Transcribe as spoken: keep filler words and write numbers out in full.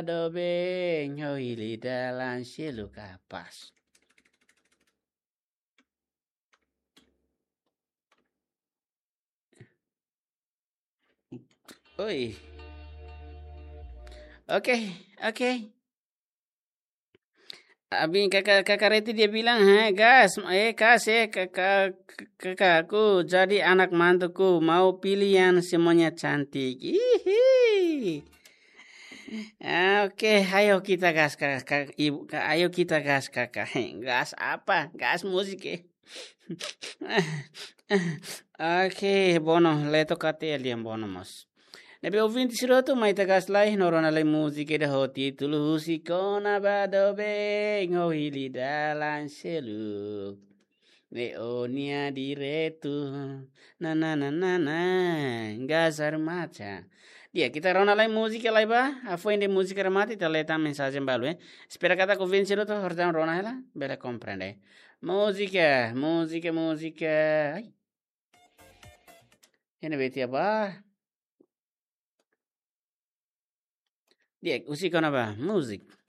doben, ho hili dalan seluk, kapás. Oi. Oke, oke. Abin, kakak, kakak Reti dia bilang, "Hei, gas, eh, kas, eh, kakak, kakak, aku jadi anak mantuku, mau pilih yang semuanya cantik." Hihi. Ah, oke, ayo kita gas, kakak, ibu, ka-, ayo kita gas, kakak. Gas apa? Gas musik, eh. Oke, Bono, leto kate lian Bono mós. Ne'ebé ouvinte sira hotu, mai ita gas lai, no rona lai múzika ida ho títulu Husik ona ba doben, ho hili dalan seluk. Ne'e ó-nia direitu. Na, na, na, na, na. Gas armaca. Di'ak, ita rona lai múzika lai ba. Hafoin de'it múzika remata, ita lee tan mensajen balu, eh. Espera katak ouvinte sira hotu, horta rona hela, bele komprende. Múzika, múzika, múzika. Ai. Ene beti apa? Di'ak, husik ona ba, múzika.